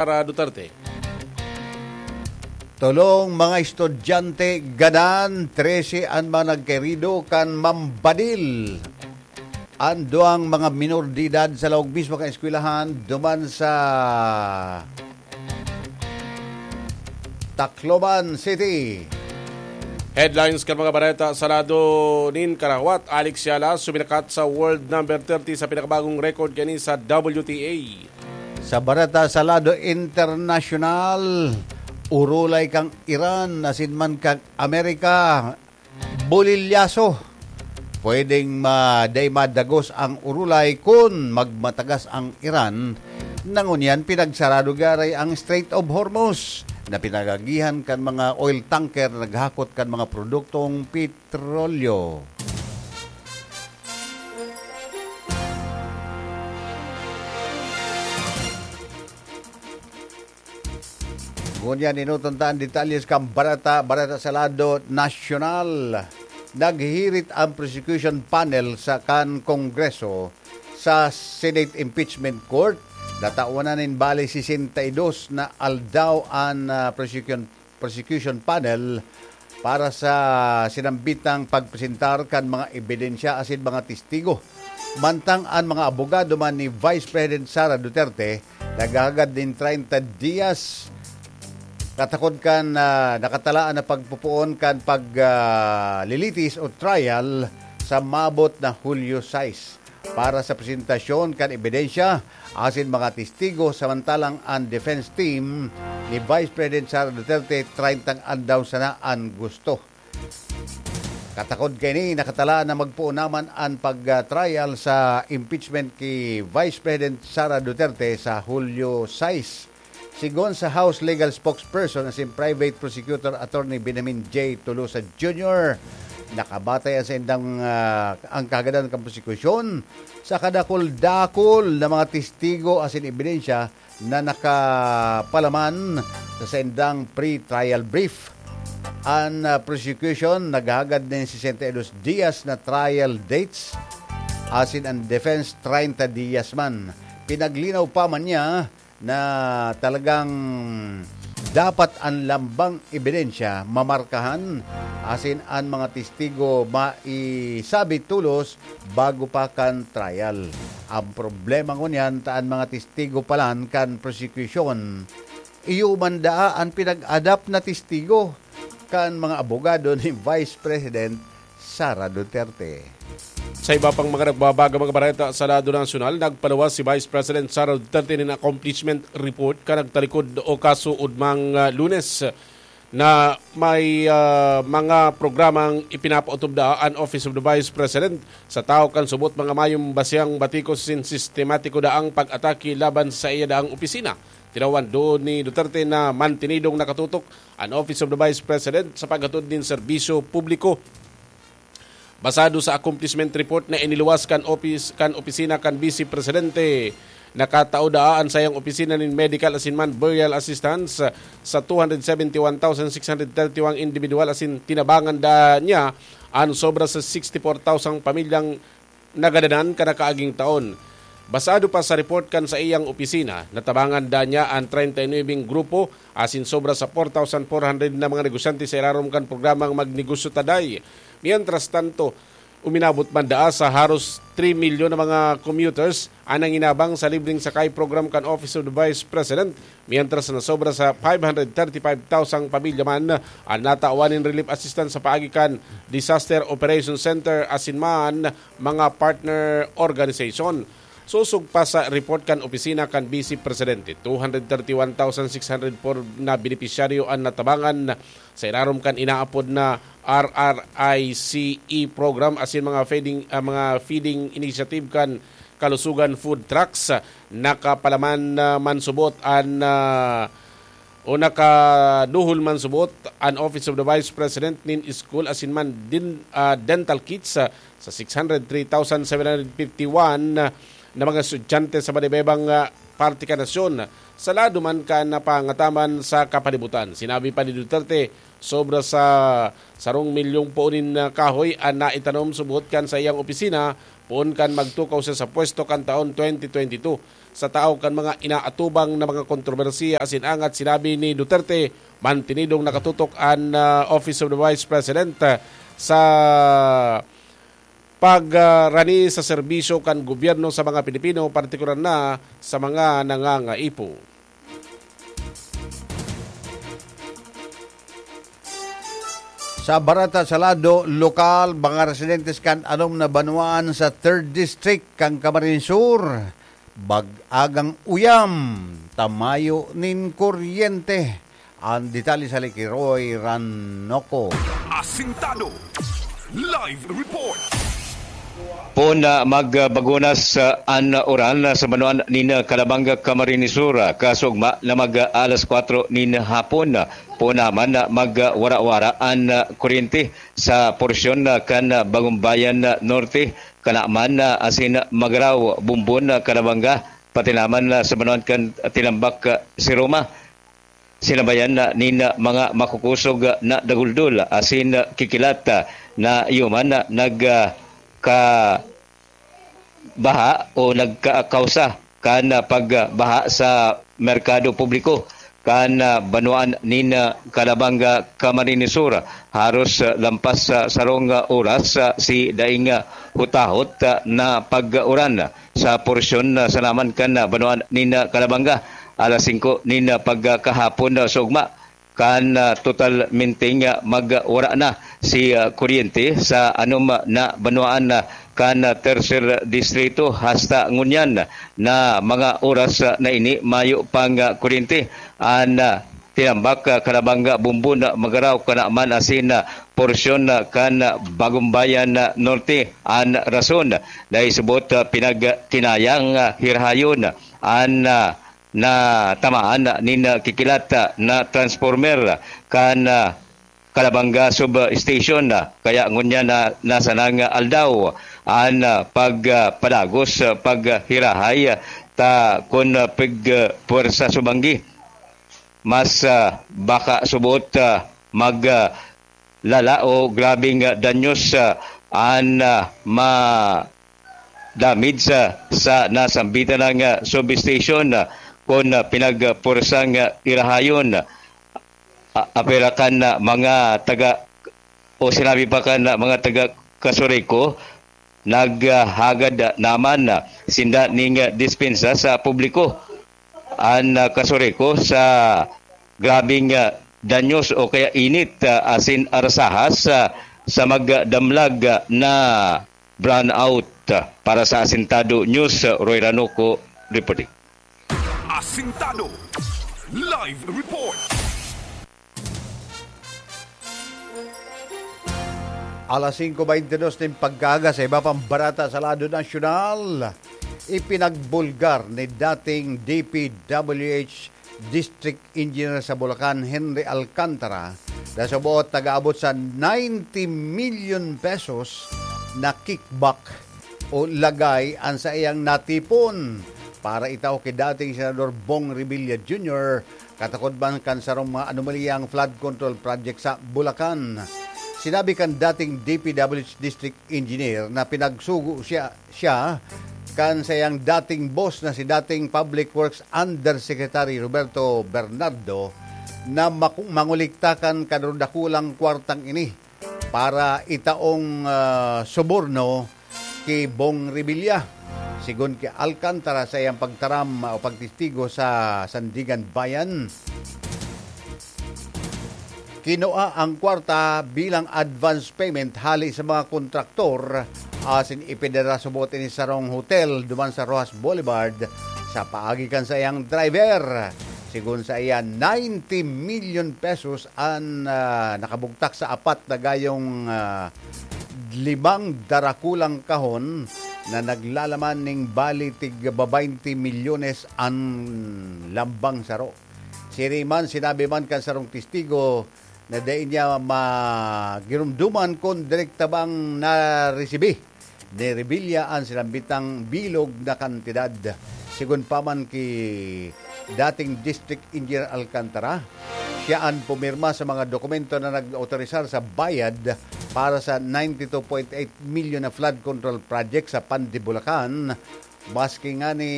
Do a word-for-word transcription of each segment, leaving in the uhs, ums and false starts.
Sara Duterte. Tolong mga estudyante gadan, trese an mga nagkahirido kan mambadil an duwang mga minor de edad sa laog mismo kan eskwelahan duman sa Tacloban City. Headlines kan mga bareta sa lado nin karawat, Alex Yala suminakat sa world number thirty sa pinakabagong record kani sa W T A. Sa bareta sa lado internasyonal, urulay kang Iran asin man kang Amerika, bulilyaso. Pwedeng ma-, dai madagos ang urulay kun magmatagas ang Iran. Nangunyan, pinagsarado garay ang Strait of Hormuz na pinagagihan kan mga oil tanker na naghakot kan mga produktong petrolyo. Ngunyan, inutan ta an detalyes kan bareta, bareta sa lado nasyonal. Naghihirit ang prosecution panel sa kan Kongreso sa Senate Impeachment Court. Natawan na nin bali sesenta y dos na aldaw an, ah, prosecution, prosecution panel para sa sinambitang pagpresentar kan mga ebidensya asin mga testigo. Mantang an mga abogado man ni Vice President Sara Duterte naghahagad nin treinta dias katakod kan, ah, nakatalaan na pagpopoon kan pag, ah, lilitis o trial sa maabot na Hulyo sais para sa presentasyon kan ebidensya asin mga testigo, samantalang an defense team ni Vice President Sara Duterte, treinta aldaw sana an gusto. Katakod kaini, nakatalaan na magpoon naman an pag-trial sa impeachment ki Vice President Sara Duterte sa Hulyo sais. Sigon sa House Legal Spokesperson asin Private Prosecutor Attorney Benjamin J. Tolosa Junior, nakabatay ang saindang, ah, ang kahagadan kan prosekusyon sa kadakul-dakul na mga testigo asin ebidensya na nakapalaman sa saindang pre-trial brief. An, ah, prosecution naghahagad nin sesenta y dos dias na trial dates, asin an defense treinta dias man. Pinaglinaw pa man niya na talagang dapat an lambang ebidensya mamarkahan asin an mga testigo maisabi tolos bago pa kan trial. Ang problema ngunyan ta an mga testigo palan kan prosecution, iyo man daa an pinag-adapt na testigo kan mga abogado ni Vice President Sara Duterte. Sa iba pang mga nagbabaga mga bareta sa lado nasyonal, nagpaluwas si Vice President Sara Duterte nin accomplishment report kan nagtalikod o kaso ugmang, ah, Lunes na may, ah, mga programang ipinapautubda an Office of the Vice President sa tawo kan subot mga mayong basiyang batikos sin sistematiko daang pag-atake laban sa iya daang opisina. Tinawan duon ni Duterte na mantenidong nakatutok an Office of the Vice President sa paghatod nin serbisyo publiko. Basado sa accomplishment report na iniluwas kan opis-, kan opisina kan Vice Presidente, nakatao daa an sayang opisina nin medical asin man burial assistance sa two hundred seventy one thousand six hundred thirty one individual asin tinabangan daa niya an sobra sa sixty four thousand pamilyang nagadanan kan nakaaging taon. Basado pa sa report kan saiyang opisina, natabangan daa niya an treinta y nuebe grupo asin sobra sa four thousand four hundred na mga negosyante sa irarom kan programang Magnegosyo Ta Day. Mientras tanto, uminabot man daa sa haros three milyon na mga commuters an nanginabang sa libreng sakay program kan Office of the Vice President, mientras na sobra sa five hundred thirty-five thousand pamilya man an natawan nin relief assistance sa paagi kan Disaster Operation Center asin man mga partner organization. Sosog pa sa report kan opisina kan Vice Presidente, two hundred thirty-one thousand six hundred four na benepisyaryo an natabangan sa irarom kan inaapod na R R I C E program asin mga feeding, ah, mga feeding initiative kan Kalusugan Food Trucks. Nakapalaman na mansubot an, ah, o nakaduhol mansubot an Office of the Vice President nin school asin man din, ah, dental kits, ah, sa six hundred three thousand seven hundred fifty one na mga estudyante sa ibaibang, ah, parte kan nasyon. Sa lado man kan napangataman sa kapalibutan, sinabi pa ni Duterte, sobra sa sarong milyong poon nin, ah, kahoy an naitanom subot kan saiyang opisina poon kan magtukaw siya sa pwesto kan taon twenty twenty two. sa tahaw kan mga inaatubang na mga kontrobersiya asin angat. Sinabi ni Duterte, mantenidong nakatutok an, ah, Office of the Vice President, ah, sa pagrani sa serbisyo kan gobyerno sa mga Pilipino, partikular na sa mga nangangaipo. Sa barata sa lado lokal, mga residentes kan anom na banwaan sa Third District kan Camarines Sur, bag-agang uyam, tamayo nin kuryente. Ang detalye sa Likiroy Ranoco. Asintado. Live report. Pon na magbagunas, ah, an uran sa banwaan nin Calabanga, Camarines Sur, ah, kasugma na mag, ah, alas kwatro nin hapon. Pon naman na magwara-wara an, ah, kuryente sa porsyon, ah, kan, ah, Bagumbayan, ah, Norte, Kanaman, ah, asin Magarao, Bumbon, ah, Calabanga, pati naman, ah, sa banwaan kan Tinambak, ah, si Roma. Sinabayan na nin mga makukusog na daguldol asin kikilat na iyo man nagkabaha o nagkakausa kan pagbaha sa merkado publiko kan banwaan nin Calabanga, Camarines Sur. Haros lampas sa sarong oras si daing hutahot na pag-uran sa porsyon sa naman kan banwaan nin Calabanga. Alas singko nin pagkahapon sa ugma, kan, ah, totalmenteng, ah, magwara na si, ah, kuryente sa anom na banwaan, ah, kan, ah, Tercer Distrito. Hasta ngunyan na mga oras, ah, na ini, mayo pang, ah, kuryente. An, ah, Tinambak, ah, Calabanga, Bumbon, ah, Magarao, Kanaman asin, ah, porsyon, ah, kan, ah, Bagumbayan, ah, Norte. An rason, dahil subot, ah, pinagkinayang, ah, hirahayon an, ah, natamaan nin kikilat na transformer kan, ah, Calabanga Substation. Kaya ngunyan na nasa nang aldaw an, ah, pagpadagos, ah, paghirahay, ah, ta kun, ah, pig, ah, puwersa subanggi. Mas, ah, baka subot, ah, mag, ah, lala o grabeng, ah, danyos, ah, an, ah, ma-, damage, ah, sa nasambitan ng, ah, substation, ah, kun, ah, pinagpursang, ah, irahayon. Ah, apera kan, ah, mga taga, o sinabi pa kan, ah, mga taga Casureco, naghagad, ah, naman, ah, sinda ning, ah, dispensa sa publiko. An, ah, Casureco sa grabeng, ah, danyos o kaya init, ah, asin arsahas, ah, sa magdamlag, ah, na brownout. Para sa Asintado News, ah, Roy Ranoco reporting. Asintado Live Report. Alas singko baynte dos nin pagkaaga, sa iba pang barata sa lado nasyonal, ipinagbulgar ni dating D P W H District Engineer sa Bulacan, Henry Alcantara, na suboot nag-aabot sa ninety million pesos na kickback o lagay an saiyang natipon para itao ki dating Senador Bong Revilla Junior, katakod man kan sarong mga anomalyang flood control project sa Bulacan. Sinabi kan dating D P W H District Engineer na pinagsugo siya, siya kan saiyang dating boss na si dating Public Works Undersecretary Roberto Bernardo na maku-, mangolikta kan kadadakulang kwartang ini para itaong, ah, suborno ki Bong Revilla. Sigon ki Alcantara, sa iyang pagtaram o pagtestigo sa Sandigan Bayan, kinua ang kwarta bilang advance payment hali sa mga kontraktor, asin ipinadara subot ini sarong hotel duman sa Roxas Boulevard sa paagi kan saiyang driver. Sigon sa iya, ninety million pesos an, ah, nakabugtak sa apat na gayong, ah, limang darakulang kahon na naglalaman ning bali tig babaynte milyones an lambang saro. Siring man, sinabi man kan sarong testigo na dai niya magiromdoman kun direkta bang naresibi ni Revilla an sinambitang bilog na kantidad. Sigon pa man ki dating District Engineer Alcantara, siya an pumirma sa mga dokumento na nag-autorisar sa bayad para sa ninety-two point eight million na flood control project sa Pandi, Bulacan, maski ngani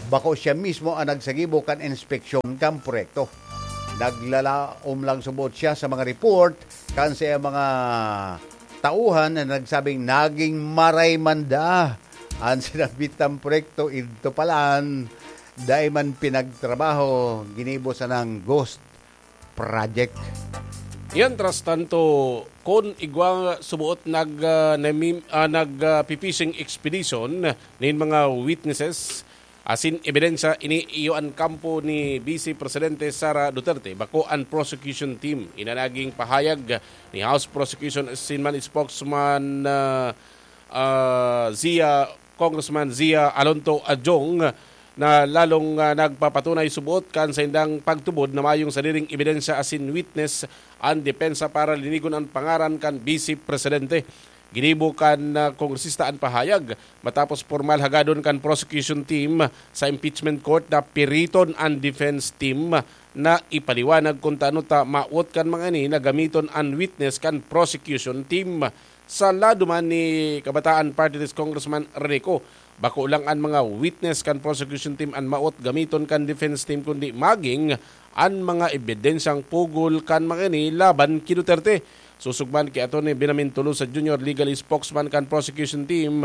bako siya mismo ang nagsagibo kan inspeksyon kan proyekto. Naglalaom lang subot siya sa mga report kan sa mga tauhan na nagsabing naging maray man da an sinabitang proyekto, idto palan dai man pinagtrabaho, ginibo sanang ghost project. Mientras tanto, kun igwa suboot nag, ah, namim-, ah, nag, ah, pi-fishing expedition nin mga witnesses asin ebidensya, ini iyo an kampo ni Vice Presidente Sara Duterte, bako an prosecution team. Ina naging pahayag ni House Prosecution asin man spokesman, ah, ah, Zia, Congressman Zia Alonto Adjong, na lalong, ah, nagpapatunay subot kan saindang pagtubod na mayong sadiring ebidensya asin witness an depensa para linigon an pangaran kan Vice Presidente. Ginibo kan, ah, kongresista an pahayag matapos pormal hagadon kan prosecution team sa impeachment court na piriton an defense team na ipaliwanag kun tano ta mawot kan mga ini na gamiton an witness kan prosecution team. Sa lado man ni Kabataan Party List Congressman Rene Co, bako lang an mga witness kan prosecution team an mawot gamiton kan defense team, kundi maging an mga ebidensyang pugol kan mga ini laban ki Duterte. Sosog man ki Attorney Benjamin Tolosa Junior, legal spokesman kan prosecution team,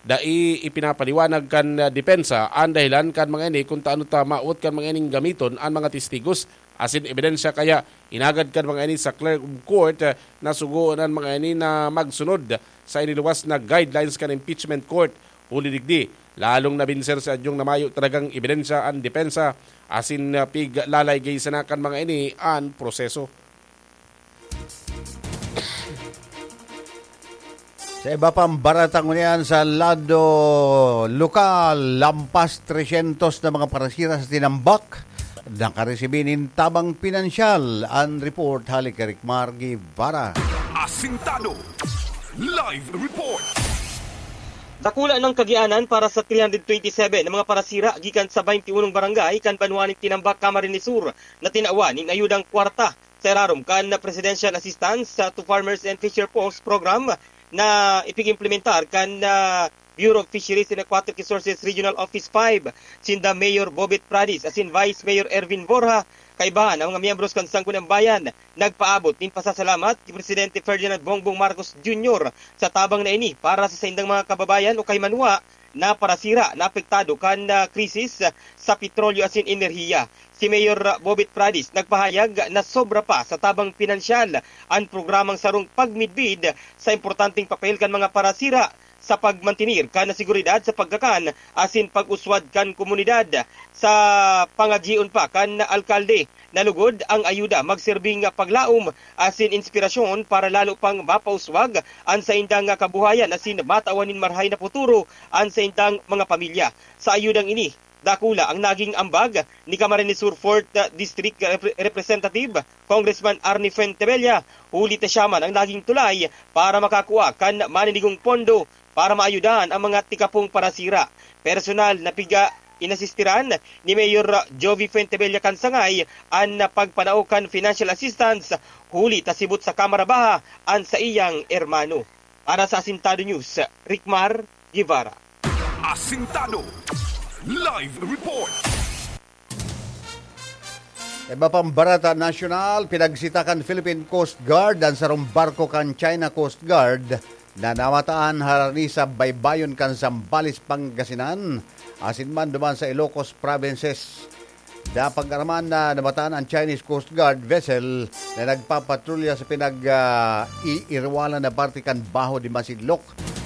dai ipinapaliwanag kan, ah, depensa an dahilan kan mga ini kun tano ta mawot kan mga ining gamiton an mga testigos asin ebidensya, kaya inagad kan mga ini sa clerk of court, ah, na sugoon an mga ini na magsunod sa iniluwas na guidelines kan impeachment court. Huli digdi, lalong nabinser si Adyong na mayo talagang ebidensya an depensa asin, ah, piglalay gay sana kan mga ini an proseso. Sa iba pang barata ngunyan sa lado lokal, lampas tresyentos na mga parasira sa tinambak nakaresibi nin tabang pinansyal. An report hali kay Ricmar Guevara. Asintado. Live report. Dakula nang kagianan para sa three hundred twenty-seven na mga parasira gikan sa twenty-one barangay kan banwa nin Tinambak, Camarines Sur, na tinawan nin ayudang kwarta sa irarom kan Presidential Assistance to Farmers and Fisher Folks Program na ipig-implementar kan, ah, Bureau of Fisheries and Aquatic Resources Regional Office five. Sinda Mayor Bobet Pradis asin Vice Mayor Ervin Borja, kaibahan ang mga miyembros kan Sangguniang Bayan, nagpaabot nin pasasalamat ki Presidente Ferdinand Bongbong Marcos Junior sa tabang na ini para sa saindang mga kababayan o kay manwa na parasira na apektado kan, ah, krisis sa petrolyo asin enerhiya. Si Mayor Bobet Pradis nagpahayag na sobra pa sa tabang pinansyal an programang sarong pagmidbid sa importanteng papel kan mga parasira sa pagmantener kan seguridad sa pagkakan asin pag-uswad kan komunidad. Sa pangagion pa kan alkalde, na lugod ang ayuda magserbing paglaom asin inspirasyon para lalo pang mapauswag an saindang kabuhayan asin matawan nin marahay na futuro an saindang mga pamilya. Sa ayudang ini, dakula ang naging ambag ni Camarines Sur Fourth District Repre-, Representative Congressman Arnie Fuentebella, huli ta siya man ang naging tulay para makakua kan maninigong pondo para maayudahan ang mga tikapong parasira. Personal na piga inasistiran ni Mayor Jovi Fuentebella kan sangay an pagpanao kan financial assistance, huli ta sibot sa Kamara Baha an saiyang hermano. Para sa Asintado News, Ricmar Guevara. Asintado. Live report. Iba pang barata nasyonal, pinagsita kan Philippine Coast Guard an sarong barko kan China Coast Guard na namataan harani sa baybayon kan Zambales, Pangasinan, asin man duman sa Ilocos provinces. Napag-araman na namataan an Chinese Coast Guard vessel na nagpapatrolya sa pinag, ah, iirwalan na parte kan Baho de Masinloc,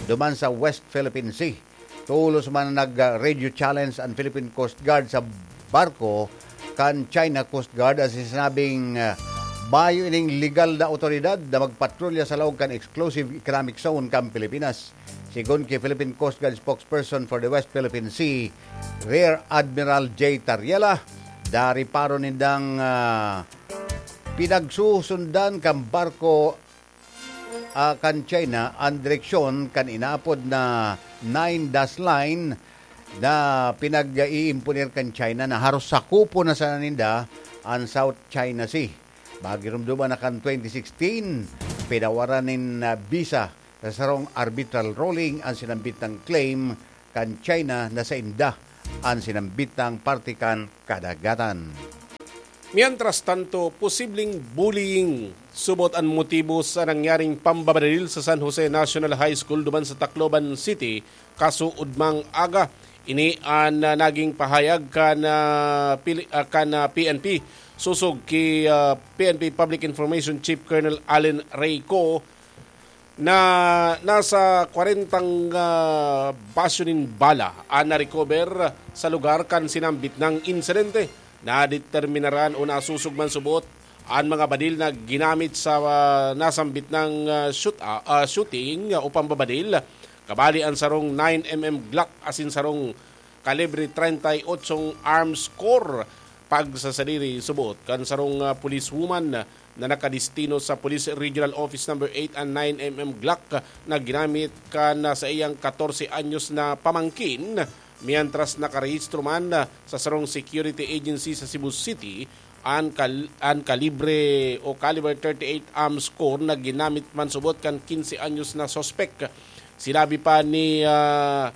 duman sa West Philippine Sea. Tolos man nag, ah, radio challenge an Philippine Coast Guard sa barko kan China Coast Guard asin sinabing, ah, mayo ining legal na awtoridad na magpatrolya sa laog kan exclusive economic zone kan Pilipinas. Sigon ki Philippine Coast Guard spokesperson for the West Philippine Sea, Rear Admiral J Tariela, dariparo nindang, ah, pinagsusundan kan barko, ah, kan China an direksyon kan inaapod na Nine Dash Line na pinag-iimponer kan China na haros sakupon na sana ninda an South China Sea. Magirumduman na kan twenty sixteen, pinawaran nin, ah, bisa sa sarong arbitral ruling an sinambit na claim kan China na sainda an sinambit na parte kan kadagatan. Mientras tanto, posibleng bullying subot an motibo sa nangyaring pambabadil sa San Jose National High School duman sa Tacloban City, kasuodmang aga. Ini an, ah, naging pahayag kan, ah, pili-, ah, kan, ah, P N P sosog ki, ah, P N P Public Information Chief Colonel Allen Reyco na nasa kwarentang, ah, basyo nin bala an na-recover sa lugar kan sinambit na insidente. Nadeterminaran o nasosog man subot an mga badil na ginamit sa, ah, nasambit na, ah, shoot, ah, ah, shooting, ah, o pambabadil. Kabali an sarong nine M M Glock asin sarong kalibre treinta y ocho arms core. Pagsasadiri subot kan sarong, ah, policewoman na nakadestino sa Police Regional Office Number eight an nine M M Glock na ginamit kan, ah, saiyang katorse anyos na pamangkin, mientras nakarehistro man, ah, sa sarong security agency sa Cebu City an kal-, an kalibre o caliber thirty-eight arms core na ginamit man subot kan kinse anyos na suspek. Sinabi pa ni, ah,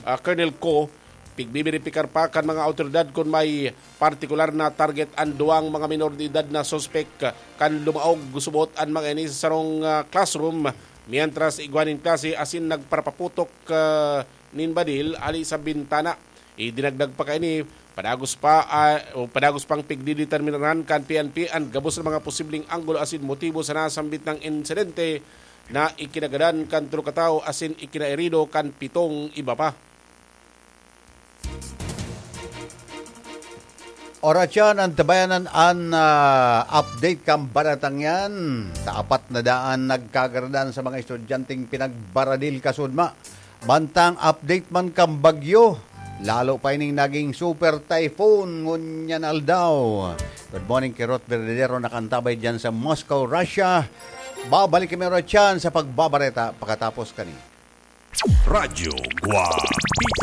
ah, Colonel Co, pigbiberipikar pa kan mga awtoridad kun may partikular na target an duwang mga minor de edad na suspek kan lumaog subot an mga ini sa sarong, ah, classroom, mientras igwa nin klase asin nagparapaputok, ah, nin badil ali sa bintana. Idinagdag pa kaini, padagos pa, ah, o padagos pang pigdideterminaran kan P N P an gabos na mga posibleng anggulo asin motibo sa nasambit na insidente na ikinagadan kan tolo ka tawo asin ikinaherido kan pitong iba pa. Oras yan, antabayanan an, ah, update kan baretang yan. Sa apat na daan nagkagaradan sa mga estudyanteng pinagbaradil kasudma. Mantang update man kan bagyo, lalo pa ining naging super typhoon ngunyan aldaw. Good morning kay Ruth Verdadero, nakantabay dyan sa Moscow, Russia. Babalik kami oras yan sa pagbabareta pakatapos kani. Radyo Guapito.